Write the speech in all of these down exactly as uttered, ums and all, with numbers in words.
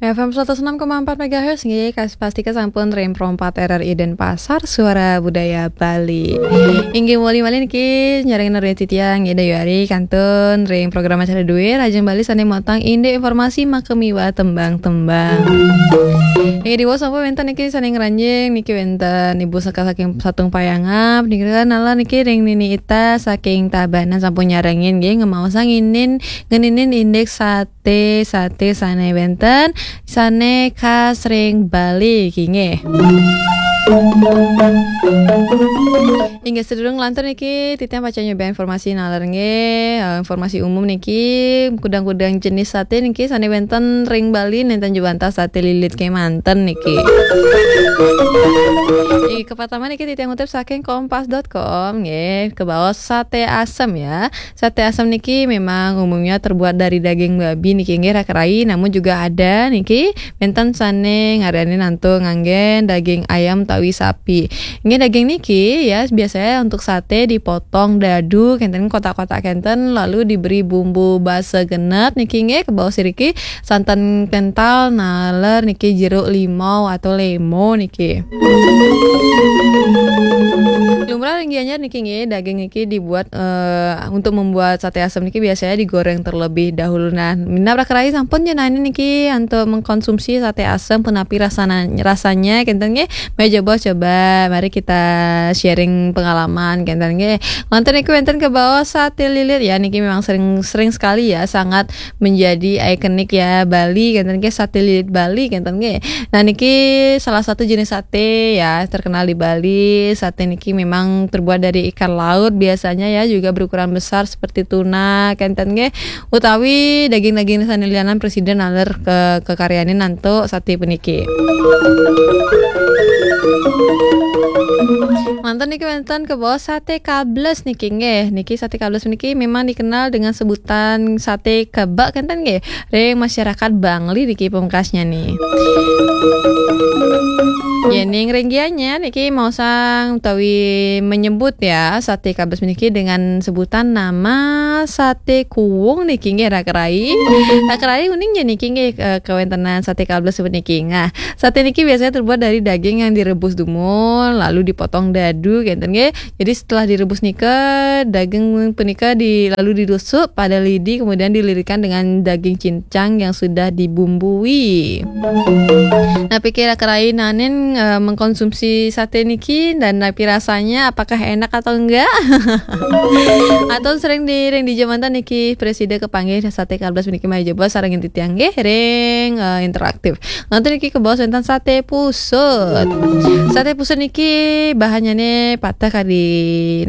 F M seratus enam koma empat megahertz nggih, kas-, pasti kesampun ring Pro empat R R I Denpasar, Suara Budaya Bali. Inggih, muli malih niki nyarengin ring titiang Ida Yuari kantun ring program acara duir Rajang Bali sane motang indik informasi makamiwah tembang-tembang. Inggih, diwaos sampun wenten niki sane ngranjing niki wenten Ibu Seka saking Satung Payangap, niki nalar niki ring Nini Ita saking Tabanan sampun nyarengin nggih, ngemaosang inin ngeninin indik sat sate, sate sane wenten, sane khas ring Bali, nggih. Inggih, sadurung lantur niki, titiang pacang nyoba informasi nalar nggih, eh, informasi umum niki, kudang-kudang jenis sate niki, sane wenten ring Bali, nenten jebanta sate lilit kemanten niki. Inggih, kapertama niki, titiang ngutip saking kompas dot com, nggih, kebaos sate asem ya. Sate asem niki memang umumnya terbuat dari daging babi niki nggih raka rai, namun juga ada niki wenten sane ngaryanin antuk nganggen daging ayam utawi sapi. Nggih, daging niki ya biasanya untuk sate dipotong dadu kenten kotak-kotak kenten lalu diberi bumbu basa genep niki nggih kebaos iriki santan kental naler niki jeruk limau atau lemo niki. Lumrah ring Gianyar niki nggih, daging niki dibuat, eh, untuk membuat sate asem niki biasanya digoreng terlebih dahulu. Nah, minab raka rai sampun jenengan niki untuk mengkonsumsi sate asem punapi rasana, rasanya kenten nggih. Mari coba, coba, mari kita sharing pengalaman kenten nggih. Wonten niki wenten kebaos sate lilit ya, niki memang sering sering sekali ya, sangat menjadi ikonik ya Bali kenten nggih, sate lilit Bali kenten nggih. Nah, niki salah satu jenis sate ya terkenal di Bali. Sate niki memang terbuat dari ikan laut biasanya ya, juga berukuran besar seperti tuna kenten nggih, utawi daging-daging sane lianan presida naler ke kekaryanin antuk sate puniki. Manten niki wenten kebaos sate kables niki nggih. Niki sate kables niki memang dikenal dengan sebutan sate kebak kenten nggih. Ring masyarakat Bangli niki pungkasnya nih. Yening ring Gianyar niki maosang utawi menyebut ya sate kables niki dengan sebutan nama sate kuwung niki nggih raka rai. Raka rai uning ya niki nggih, eh, kawentenan sate kables puniki. Nah, sate niki biasanya terbuat dari daging yang direbus dumun lalu dipotong dadu kenten nggih. Jadi setelah direbus nika, daging punika di, lalu ditusuk pada lidi, kemudian dilirikan dengan daging cincang yang sudah dibumbui. Nah, pikir raka rai nanin, eh, mengkonsumsi sate niki dan napi rasanya, apakah enak atau enggak? Atau sering di, ring dija manten niki presida kepanggih sate kables niki mari jebos sareng titiang nggih ring, eh, interaktif. Nganten niki kebaos wenten sate pusut. Sate pusut niki bahannya nih patah kadi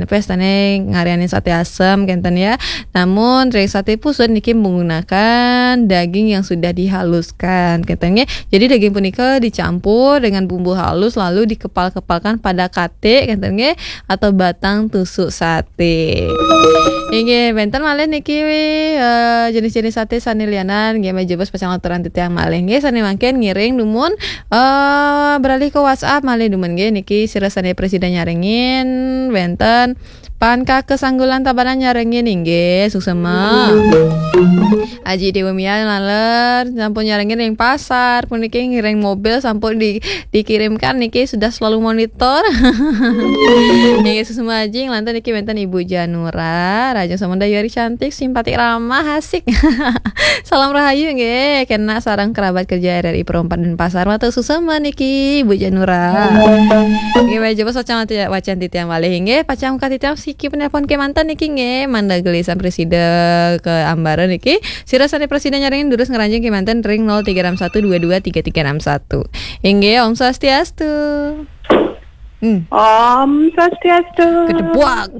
nepes tane ngarianin sate asem kenten ya. Namun ring sate pusut niki menggunakan daging yang sudah dihaluskan kenten nggih. Jadi daging punika dicampur dengan bumbu halus lalu dikepal-kepalkan pada kate kenten nggih atau batang tusuk sate. Inggih, wenten malih niki, eh, jenis-jenis sate sane lianan nggih mari jebos pacang aturan titiang malih nggih sane mangkin ngiring dumun, eh, beralih ke WhatsApp malih dumun nggih niki sira sane presida nyarengin wenten Pan Kaka Sanggulan Tabanan nyarengin inggih suksema. Aji Dewa Mia naler sampun nyarengin ring pasar puniki ngiring mobil sampun di, dikirimkan niki sudah selalu monitor. Nggih suksema Aji, nglantur niki wenten Ibu Janura, Raja Samudra Yori cantik, simpatik ramah, asik. Salam rahayu nggih, kena sareng kerabat kerja R R I Pro empat Denpasar, matur suksema niki Ibu Janura. Nggih, mari jebos wacan, wacan titiang malih nggih, pacang ka titiang siki penelpon kemanten niki nggih, mangda gelisan presida ke ambara niki. Sira sane presida nyarengin durus ngranjing kemanten ring nol tiga enam satu dua dua tiga tiga enam satu. Inggih, Om Swastiastu. Hmm. Om Swastiastu. Gedebuak.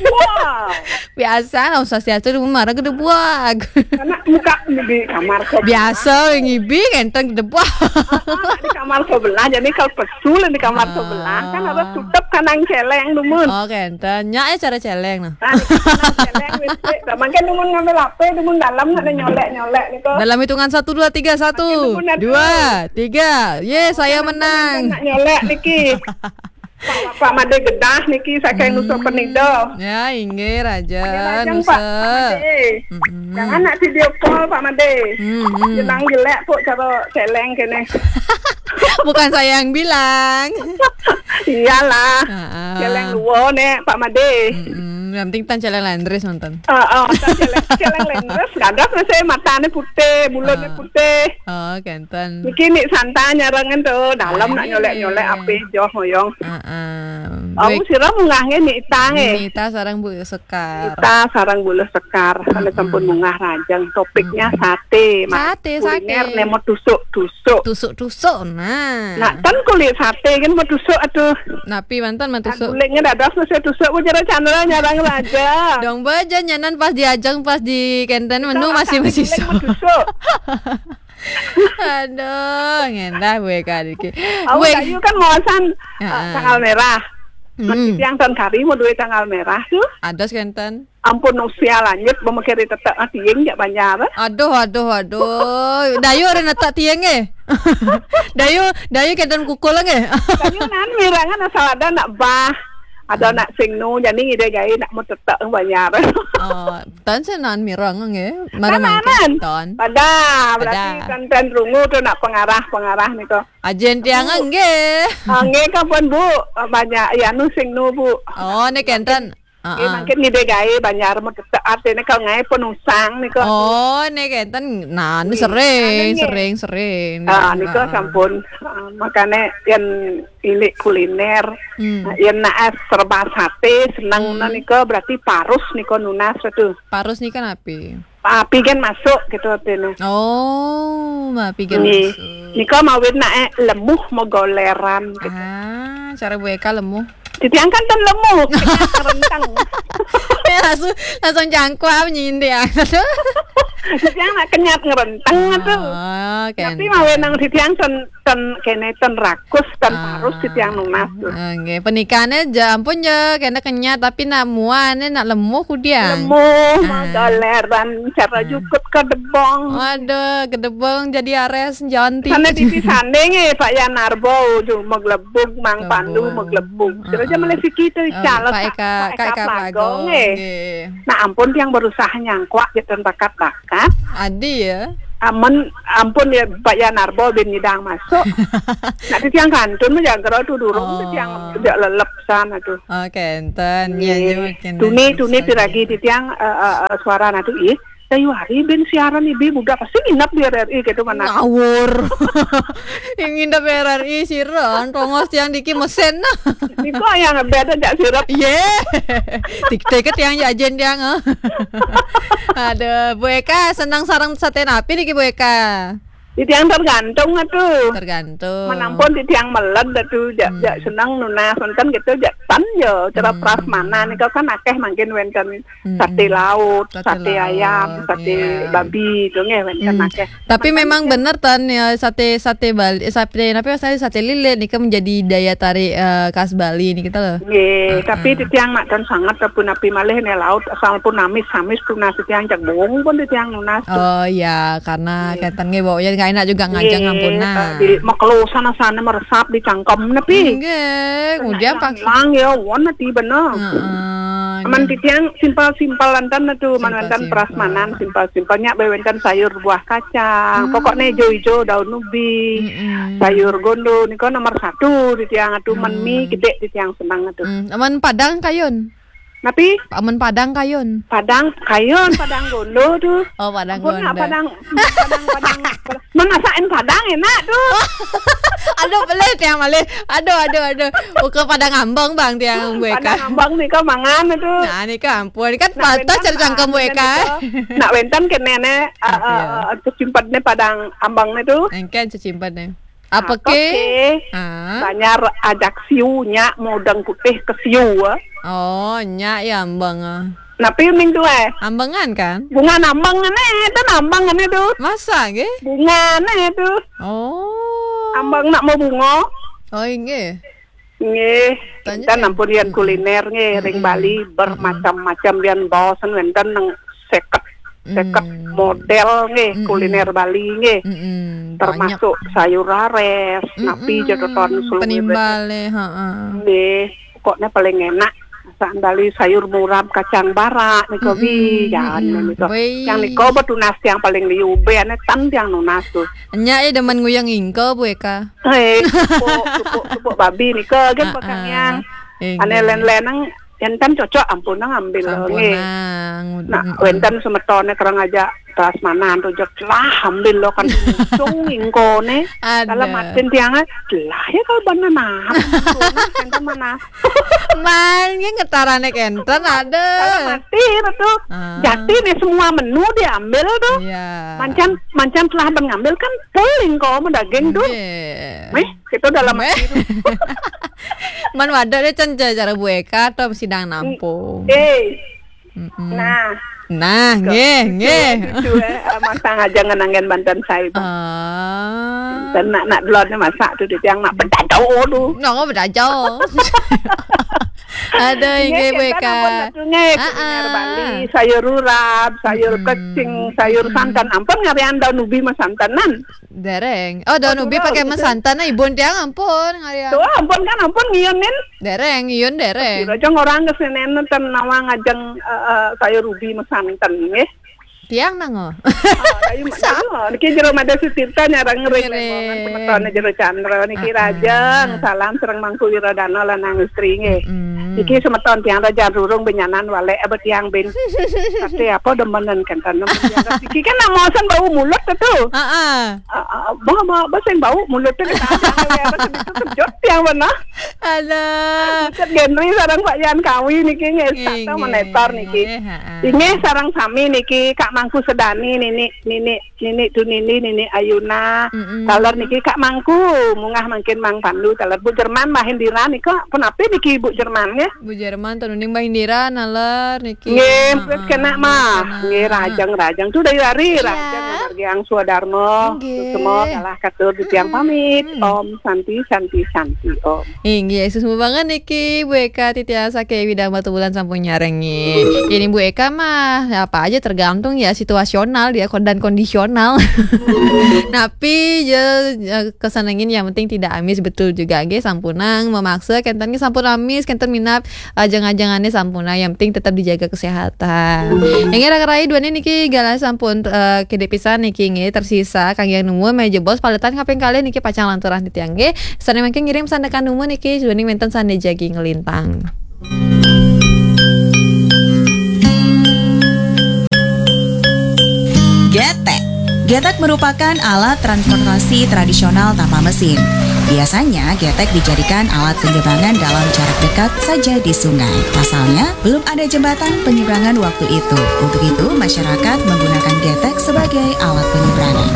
Wah. Biasa Om Swastiastu marah gedebuak. Karena muka di kamar sebelah. Biasa ngibi kenten gedebuak. Ah, ah, di kamar sebelah, jadi kalau pesul di kamar sebelah kan harus tutup kanang celeng dumun. Oh, kenten. Nya ya cara celeng nah. Nah, di kanang celeng wis, wis. Mangkin dumun ngambil H P, dumun dalam nak nyolek-nyolek niku. Dalam hitungan satu, dua, tiga, satu, dua, tiga. Ye, saya menang. Nak nyolek niki. Pak, Pak Made Gedah niki saking Nusa Penida. Ya, inggih, Raja, Raja, Nusa. Pak Made. Mm-mm. Jangan nak video call, Pak Made. Mm-mm. Jenang jelek, Pak, cara celeng kene. Bukan saya yang bilang. Iyalah. Heeh. Celeng luo nek, Pak Made. Mm-mm. Yang penting tan celeng lendres nonton. Heeh, tan celeng, celeng lendres, gagas masih matane putih, mulutnya putih. Oh, kenten. Niki nik santai nyarangan tuh, dalam nak nyolek-nyolek api joh moyong. Heeh. Aku sira munggah nggih nik itang nggih. Nik ita sarang Bu Sekar. Ita sarang Bu Sekar, kalau sampun munggah rajang, topiknya sate, Mas. Sate, kuliner sate. Nemo tusuk-tusuk. Tusuk-tusuk, nah. Nak tan kulit sate kan mau tusuk, aduh. Napi mantan mau tusuk? Gulingnya dados mesti tusuk, Bu, cara Chandra nyarang raja. Dong baja nyanan pas diajeng, pas di kenten menu masih masih guling mau tusuk. Aduh, ngendah gue kali ki. Aku Weh. Dayu kan mawasan, eh, Heeh. Tanggal merah. Mm-mm. Mesti yang tan kari mau duit tanggal merah tuh. Ada kenten. Ampun usia lanjut, memikiri tetek tiing jak banjar. Aduh, aduh, aduh. Dayu ada netek tiing eh. Dayu, dayu kenten kukul eh. Dayu nan mirangan asal ada nak bah. Ada nak sing nu, jadi ngide gawe nak mau tetek banjar. Oh, tan senan mirang nggih. Marang mangkin tan. Pada, berarti tan, tan rungu tuh nak pengarah-pengarah nih kok. Ajen tiang nggih. Ah, nggih kapan, Bu? Banyak ya nu sing nu, Bu. Oh, nih kenten. Nggih, mangkin ngide gawe banjar mau tetek artine kalau ngae penusang nih kok. Oh, nih kenten. Nah, ini sering, sering, sering. Ah, nika sampun. Ah, makane yen ilik kuliner, yen nak es serba sate seneng nika berarti parus nika nunas tuh. Parus nika napi? Api kan masuk gitu artine. Oh, api kan masuk. Nika mawin nak eh, lemuh megoleran gitu. Ah, cara Bu Eka lemuh. Titiang kan ten lemuh, kenyat ngerenteng. Ya, langsung, langsung jangkau apa nyindir ya. Titiang nak kenyat ngerenteng tuh. Oh, tapi mawe nang titiang ten, ten kene ten rakus, ten parus titiang nunas tuh. Nggih, pernikahannya ja ampun ja kena kenyat tapi nak muane nak lemuh kudiang. Lemuh, ah. Magoleran, cara jukut kedebong. Waduh, kedebong jadi ares janti. Sana di sana nggih Pak Yanarbo, ju meglebug, Mang Pandu meglebug. Kira aja melesiki tuh, oh, calon Pak Eka, Pak Eka Plago, nggih. Nah, ampun yang berusaha nyangkuak gitu bakat-bakat. Adi ya. Amun, ampun ya Pak Yanarbo bin nyidang masuk. Nah, titiang kantun mah jagero tuh durung, titiang jak lelep sana tuh. Oh, kenten. Ya, ya, kenten. Tuni, tuni piragi titiang, eh, eh, eh, suara na tuh, ih. Dayu hari ben siaran ibi budak pasti nginep di R R I gitu mana. Ngawur. Yang nginep R R I siran, tongos tiang diki mesen. Niko yang beda jak sirap. Ye. Tik tik tiang jajen tiang. Aduh, Bu Eka senang sarang sate napi niki Bu Eka? Di tiang tergantung atuh. Tergantung. Menampun di tiang meled atuh, jak, jak senang nunas, wonten gitu, jak tan ya, cara prasmanan niku kan akeh mangkin wonten sate laut, sate ayam, sate babi itu nggih wonten akeh. Tapi memang bener tan ya, sate, sate Bali, eh, sate apa, sate, sate lilit nika menjadi daya tarik, eh, khas Bali nih kita loh. Nggih, tapi di tiang nak tan sangat, tapi napi malih nih laut asal pun amis-amis tunas di tiang cek bung pun di tiang nunas. Oh iya, karena kenten nggih baunya nggak enak juga ngajeng ampun nah. Di mekelo sana-sana meresap di cangkem napi. Nggih, kemudian pak hilang ya, won napi bener. Heeh. Aman di tiang simpel-simpel lantan tuh, man wonten prasmanan simpel-simpelnya, bae wonten sayur buah kacang, pokoknya hijau-hijau daun ubi, sayur gondo, niku nomor satu di tiang atuh, men mie gede di tiang senang atuh. Hmm, aman Padang kayun. Napi? Aman Padang kayun. Padang kayun, Padang gondo tuh. Oh, Padang gondo. Padang, Padang, Padang. Mana sain Padang enak tuh. Aduh, pelih tiang malih. Aduh, aduh, aduh. Uka Padang ambang bang tiang gue Padang ambang nih kau mangan tuh. Nah, nih kau ampun. Kan patah cari cangkem gue kan. Nak wonten ke nenek, eh, eh, eh, cecimpadnya Padang ambang itu. Engken cecimpadnya. Apa ke? Banjar ajak siunya modang putih ke siu. Oh, nya ya ambang. Napi ming tuh eh? Ambangan kan? Bunga ambang nih, itu ambang nih tuh. Masa nggih? Bunga nih tuh. Oh. Ambang nak mau bunga. Oh, nggih. Nggih, kita nampun yang kuliner nggih ring Bali bermacam-macam yang bawasan wonten nang seket seket model nggih, kuliner Bali nggih. Mm-mm, banyak. Termasuk sayur rares, napi je to ton selung. Penimbal, eh, heeh. Nggih, pokoknya paling enak masakan Bali, sayur murab kacang barak nika, wi, jan nika. Wih. Yang nika betunas tiang paling liu, be ane tan tiang nunas tu. Nya, eh, demen nguyang ingko, Bu Eka. Eh, tupuk, tupuk, tupuk babi nika, gen, ah, bakang ah, yang. Inggih. Ane len-len nang, enten cocok, ampun nang ambil. Ampun nggih. Nang. Nah, wenten semetone kerang aja prasmanan tu jek lah ambil lo kan cung ingkone. Ada. Dalam atin tiang, lah ya kalau bana nah, enten mana. Man, ngetarane kenten ada. Dalam atin tu. Ah. Jati nih semua menu diambil tu. Iya. Mancan, mancan telah ben ngambil kan full ingko daging tu. Nggih. Meh, kita dalam atin. Man wadah deh, can, cara Bu Eka atau sidang nampung. Eh. Mm-mm. Nah. Nah, nggih, nggih. Cucu, eh, masang aja ngenangen banten saya, Bang. Ah. Dan nak, nak delon masak tu, dia yang nak bedado tu. Nang bedado. Ada. Nggih, nggih, Bu Eka. Nggih, kuliner Bali, sayur urap, sayur kecing, sayur santan. Ampun ngarian daun ubi masantanan. Dereng. Oh, daun ubi pakai masantan, nah, ibun tiang ampun ngarian. Tuh, ampun kan, ampun ngiunin. Dereng, iun dereng. Kira jeng orang kesenen ten nawang ajeng, eh, eh, sayur ubi masantan, nggih. Tiang nango. Ah, ayo, ayo. Niki jero Made Sutirta nyarang ngiring. Ngiring. Semeton jero Chandra niki. Ah, ah. Rajeng, salam sareng Mangku Wiradana lan Nang Istri nggih. Mm. Niki semeton tiang raja rurung benyanan walek abet tiang bin. Tapi apa demenan kenten nemen tiang. Niki kan namosan bau mulut tu. Heeh. Ah, ah, bah, bah, bah, sing bau mulut tu kita apa segitu kejut tiang mana. Alah. Bukan Genri sareng Pak Yan Kawi niki nggih, nggih, satu menetor niki. Nggih, heeh. Inggih sareng sami niki Kak Mangku Sedani, nini, nini, nini tu nini, nini Ayuna. Mm-mm. Taler niki Kak Mangku, mungah mangkin Mang Pandu, taler Bu Jerman, Mbah Indira nika, punapi niki Bu Jerman nggih? Bu Jerman, tuh nuning Mbah Indira, naler niki. Nggih, heeh, kena mah. Kena. Nggih, rajeng, rajeng. Tu dari hari, iya, rajeng, margi ang swadarma. Nggih. Semua salah katur di tiang pamit. Hmm. Om Santi, Santi, Santi, Om. Inggih, suksma banget niki Bu Eka Titiasa ke Widang Batubulan sampun nyarengi. Ini Bu Eka mah apa aja tergantung ya situasional dia kon-, dan kondisional. Napi je, eh, kesenengin yang penting tidak amis betul juga nggih, sampunang memaksa kenten nggih sampun amis, kenten minab ajeng-ajengane sampunang, yang penting tetap dijaga kesehatan. Yang ngira kerai dua niki galah sampun, eh, kedek pisan niki nggih, tersisa kang yang nemu meja bos paletan kaping kali niki pacang lanturah di tiang nggih. Sane mangke ngirim sandekan nemu niki, juning wenten sane jagi ngelintang. Getek. Getek merupakan alat transportasi tradisional tanpa mesin. Biasanya, getek dijadikan alat penyeberangan dalam jarak dekat saja di sungai. Pasalnya, belum ada jembatan penyeberangan waktu itu. Untuk itu, masyarakat menggunakan getek sebagai alat penyeberangan.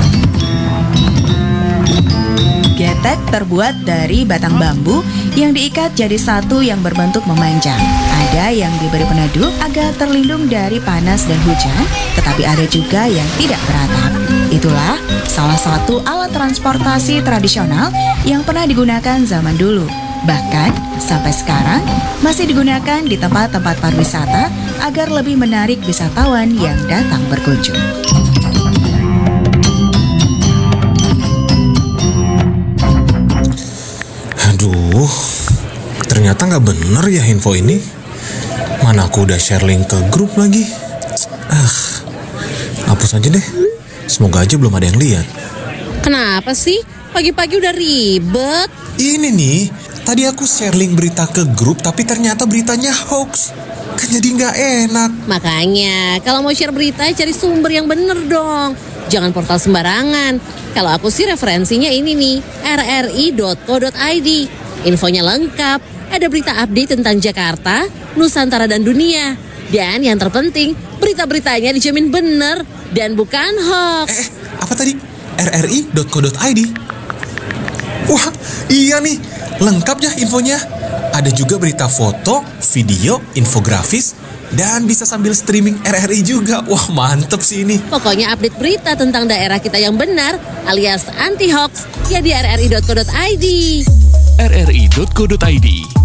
Getek terbuat dari batang bambu yang diikat jadi satu yang berbentuk memanjang. Ada yang diberi peneduh agar terlindung dari panas dan hujan, tetapi ada juga yang tidak beratap. Itulah salah satu alat transportasi tradisional yang pernah digunakan zaman dulu. Bahkan, sampai sekarang masih digunakan di tempat-tempat pariwisata agar lebih menarik wisatawan yang datang berkunjung. Aduh, ternyata nggak bener ya info ini. Mana aku udah share link ke grup lagi. Ah, hapus aja deh. Semoga aja belum ada yang lihat. Kenapa sih? Pagi-pagi udah ribet. Ini nih, tadi aku share link berita ke grup, tapi ternyata beritanya hoax. Kan jadi nggak enak. Makanya, kalau mau share berita, cari sumber yang bener dong. Jangan portal sembarangan. Kalau aku sih referensinya ini nih, R R I dot co dot I D. Infonya lengkap, ada berita update tentang Jakarta, Nusantara dan dunia. Dan yang terpenting, berita-beritanya dijamin bener dan bukan hoax. Eh, eh, apa tadi? R R I dot co dot I D. Wah, iya nih, lengkap ya infonya. Ada juga berita foto, video, infografis, dan bisa sambil streaming R R I juga. Wah, mantep sih ini. Pokoknya update berita tentang daerah kita yang benar alias anti hoax ya di R R I dot co dot I D. R R I dot co dot I D.